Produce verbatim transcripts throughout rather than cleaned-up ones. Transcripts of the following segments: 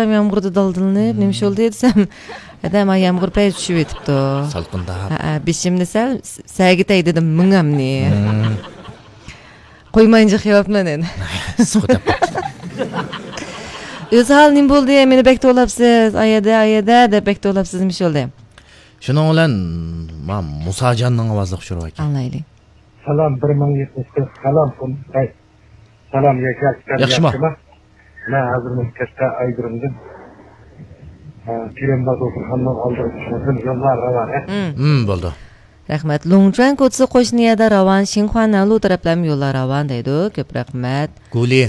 يامغۇردا دالدىلىنىپ، نېمە ئىش بولدى دېسەم، ھەدە، ما يامغۇر پەي چۈشۈۋېتىپتۇ. سالقىندا. ھە، بېشىمنى سەل سەگىتەي دېدىم، مېڭەمنى. قويماينجا خىياپمەن ئەنە. ئىسسىق دەپ قاپتۇ. ئۆزھال نېمە بولدى؟ مېنى بەك توۋلاپسىز. ئايەدە، ئايەدە دەپ بەك توۋلاپسىز. نېمە ئىش بولدى؟ شۇنىڭ بىلەن ما مۇساجاننىڭ ئاۋازلىق ئۇچۇرى بار ئىكەن. ئاڭلايلى. سالام، بىر مىڭ يەتمىش تۆت، سالام، قۇم. ھەي. سالام، ياشار، ياخشىما؟ ياخشىما؟ مەن ھازىر مۇشۇ كەچتە ئايدۇرۇمدىن، ئە، كىرىم بازۇ خاننىڭ ئالدىغا چىقمىسۇن، يوللار راۋان، ھە؟ مم. مم، بولدى. رەھمەت. لۇڭچۈەن كوچىسى قوشنا يەردە راۋان، شىنخۇا نەنلۇ تەرەپلەرمۇ يوللار راۋان دەيدۇ. كۆپ رەھمەت. گۇلى.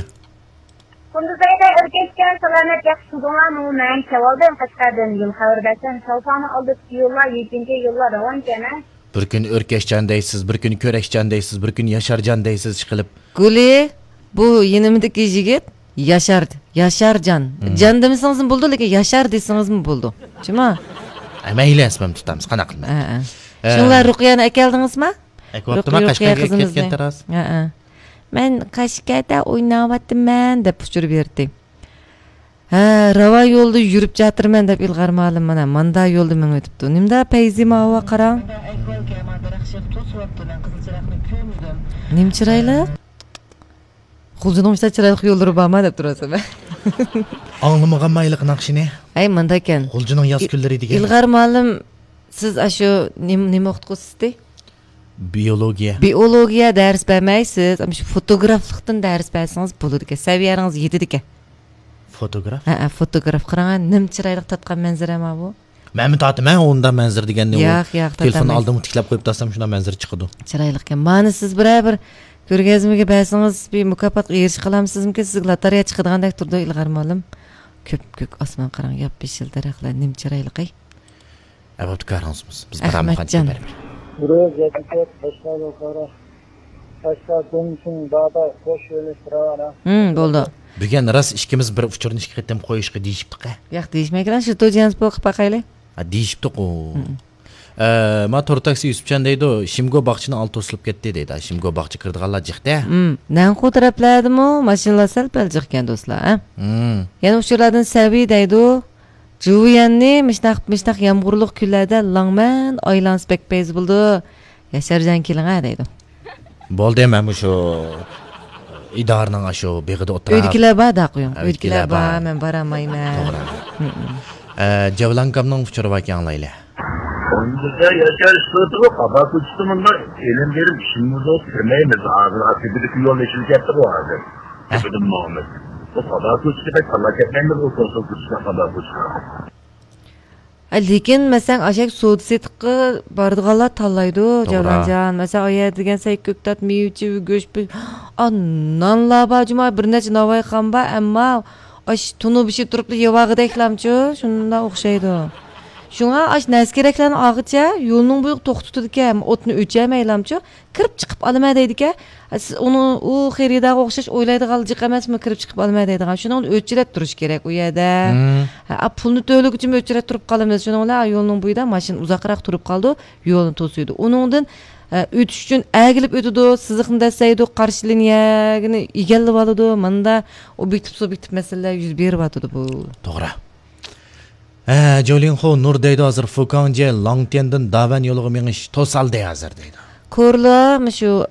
قۇندۇزئايدا ئۆركەشكەن سالامەت ياخشى تۇردۇڭلارمۇ؟ مەن كەۋالدىم قەشقەردىن. يول خەۋىرى بەرسەم، شاۋپاڭنى ئالدىدىكى يوللار، يېپىنچى يوللار راۋانكەن، ھە؟ بىر كۈن ئۆركەشجان دەيسىز، بىر كۈن كۆرەشجان دەيسىز، بىر كۈن ياشارجان دەيسىز چىقىلىپ. گۇلى، بۇ يېنىمدىكى يىگىت ياشار، ياشارجان. مم. جان دېمىسىڭىزمۇ بولىدۇ، لېكىن ياشار دېسىڭىزمۇ بولىدۇ. شۇما؟ ئە، مەيلى، ئەسمەمدە تۇتامىز، قانداق قىلماي. ھە، ھە. ئە. شۇڭلار رۇقىيەنى ئەكەلدىڭىزما؟ ئەكىۋاپتىما، رۇقىيە قەشقەرگە قىزىمىزنى. كەتكەن تاراز. ھە، ھە. مەن قەشقەردە ئويناۋاتىمەن دەپ ئۇچۇر بېرىتتى. ھە، راۋان يولدا يۈرۈپ جاتىرمەن دەپ ئىلغار مۇئەللىم مانا ماندا يولدا مېڭىۋېتىپتۇ. نېمىدا پەيزى ماۋۇ قاراڭ. نېمە چىرايلىق؟ غۇلجىنىڭ مۇشۇنداق چىرايلىق يوللىرى بارما دەپ تۇرۇۋاتىمەن. ئاڭلىمىغانما ھېلىقى ناخشىنى؟ ھەي، ماندا ئىكەن. غۇلجىنىڭ ياز كۈنلىرى دېگەن. ئىلغار مۇئەللىم، سىز ئاشۇ نېمە، نېمە ئوقۇتقۇچىسى؟ بىئولوگىيە. بىئولوگىيە دەرس بەرمەيسىز، ئەمما شۇ فوتوگرافلىقتىن دەرس بەرسىڭىز بولىدىكەن، سەۋىيەڭىز يېتىدىكەن. فوتوگراف؟ ھەئە، فوتوگراف. قاراڭ، نېمە چىرايلىق تارتقان مەنزىرە ماۋۇ. مەنمۇ تارتىمەن ئۇنداق مەنزىرە دېگەننى، ئۇ ياق، ياق، تېلېفون تارتالمايسىز. ئالدىمغا تىكلەپ قويۇپ تۇرسام شۇنداق مەنزىرە چىقىدۇ. چىرايلىقكەن. مانا سىز بىرەر بىر كۆرگەزمىگە بەرسىڭىز، بىر مۇكاپاتقا ئېرىشىپ قالامسىزمىكىن؟ سىزگە لاتارىيە چىقىدىغاندەك تۇرىدۇ ئىلغار مۇئەللىم. كۆپكۆك ئاسمان قاراڭ، ياپيېشىل دەرەخلەر نېمە چىرايلىق ئەي. ئەبابتىكارىڭىز بولسۇن. بىز ئەخمەتجان. بارامىز قايتىپ بېرىمىز. بىرى يەتتە تۆت، قەشقەر يۇقىرى. قەشقەر دۇڭشىڭ دادا قوش يۆنىلىش راۋان، ھە؟ ھىم، بولدى. بۈگۈن راست ئىككىمىز بىر ئۇچۇرنى ئىككى قېتىم قويۇشقا دېيىشىپتۇق، ھە؟ ياق، دېيىشمەيكەن، شىتو جيەنسپو قىلىپ باقايلى. ھە، دېيىشىپتۇق ئۇ. ھىم. ئە، ما تور تاكسى يۈسۈپجان دەيدۇ، شىمگو باغچىنىڭ ئالدى توسۇلۇپ كەتتى دەيدۇ. شىمگو باغچە كىرىدىغانلار جىقتە. ھىم، نەنخۇ تەرەپلەردىمۇ ماشىنىلار سەل پەل جىقكەن دوستلار، ھە؟ ھىم. يەنە ئۇچۇرلاردىن سەۋىي دەيدۇ. جۇۋيەننى مىشناق، مىشناق يامغۇرلۇق كۈنلەردە لەڭمەن ئايلانسا بەك پەيزى بولىدۇ. ياشارجان كېلىڭە دەيدۇ. بولدى، مەن مۇشۇ ئىدارىنىڭ ئاشۇ بېغىدا ئولتۇراپ. ئۆيدىكىلەر بار، داقۇيۇڭ. ھە، ئۆيدىكىلەر ئۆيدىكىلەر بار، بار. مەن بارالمايمەن. توغرا. ھىم، ھىم. ئە، جەۋلانكامنىڭ ئۇچۇرى باركەن، ئاڭلايلى. كوندىدا ياشاش سۈرىتىغۇ قازا كوچىسى مۇنداق ئېلىم بېرىپ ئىشىمىزغا كىرمەيمىز. ھازىر ئاكتىپىدىكى يول ئېچىلىپ كەتتىغۇ ھازىر. ھە. تېپىدىن ماڭىمىز. بۇ قازا كوچىسى بەك تاللاپ كەتمەيمىز، ئۇ كونسول كوچىسى قازا كوچىسى. ئە، لېكىن، مەسىلەن، ئاشەك سودا سېتىققا بارىدىغانلار تاللايدۇ، توغرا. جەۋلانجان. مەسىلەن، ئايە دېگەن سەي كۆكتات، مېۋىچى، گۆش، پۈ-، ئا، نانلار بار، جۇما، بىر نەچچە ناۋايخان بار، ئەمما ئاش تونۇر بېشى تۇرۇپلا يەۋالغۇدەكلامچۇ، شۇنداق ئوخشايدۇ. شۇڭا ئاش نەرسە كېرەكلەرنى ئالغىچە يولنىڭ بويىغا توختىتىدىكەن، ئوتنى ئۆچۈرمەيلامچۇ، كىرىپ چىقىپ ئالىمەن دەيدىكەن. سىز ئۇنى، ئۇ خېرىدارغا ئوخشاش ئويلايدىغان جىق ئەمەسمۇ، كىرىپ چىقىپ ئالىمەن دەيدىغان. شۇنىڭ بىلەن ئۆچىرەت تۇرۇش كېرەك ئۇ يەردە. ھىم. ھە، پۇلنى تۆلىگۈچىمۇ ئۆچىرەت تۇرۇپ قالىمىز. شۇنىڭ بىلەن يولنىڭ بويىدا ماشىنا ئۇزاقراق تۇرۇپ قالىدۇ، يولنى توسۇيدۇ. ئۇنىڭدىن، ئە، ئۆتۈش ئۈچۈن ئەگىلىپ ئۆتىدۇ، سىزىقنى دەسسەيدۇ، قارشى لىنىيەنى ئىگىلىۋالىدۇ. ماندا ئوبيېكتىپ سۇبيېكتىپ مەسىلىلەر يۈز بېرىۋاتىدۇ بۇ. توغرا. ھە، جولىڭخۇ نۇر دەيدۇ ھازىر فۇكاڭجيې لاڭتيەندىن داۋەن يولىغا مېڭىش توسالدى ھازىر دەيدۇ. كورلا، مۇشۇ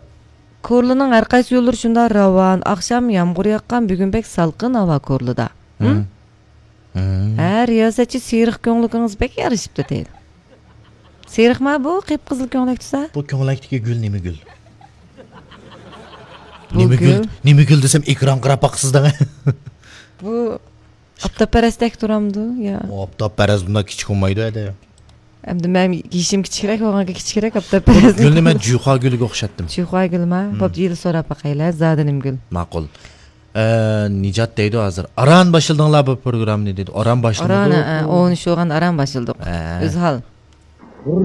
كورلىنىڭ ھەر قايسى يوللىرى شۇنداق راۋان، ئاخشام يامغۇر ياغقان، بۈگۈن بەك سالقىن ھاۋا كورلىدا. ھىم؟ ھىم. ھىم. ھە، رىياسەتچى سېرىق كۆڭلىكىڭىز بەك يارىشىپتۇ دەيدۇ. سېرىقما بۇ، قىپقىزىل كۆڭلەك تۇتسا؟ بۇ كۆڭلەكتىكى گۈل نېمە گۈل؟ بۇ نېمە گۈل، گۈل؟ نېمە گۈل دېسەم ئېكران قاراپ باقىسىز دەڭ. بۇ ئاپتاپپەرەستەك تۇرامدۇ يا؟ ئاپتاپپەرەس بۇنداق كىچىك بولمايدۇ ھەدە. ئەمدى مەن يېشىم كىچىكرەك، ئۇنىڭكى كىچىكرەك ئاپتاپپەرەس. گۈلنى مەن جۇخۇا گۈلىگە ئوخشاتتىم. جۇخۇا گۈلما؟ ھىم. بوپتۇ، يىل سوراپ باقايلى، زادى نېمە گۈل؟ ماقۇل. ئە، نىجات دەيدۇ ھازىر. ئاران باشلىدىڭلار بۇ پروگراممىنى دەيدۇ. ئاران باشلىمىدۇق. ئاران، ھە، ھە، ئون ئۈچ بولغان ئاران باشلىدۇق. ھە. ئۆزھال. بىر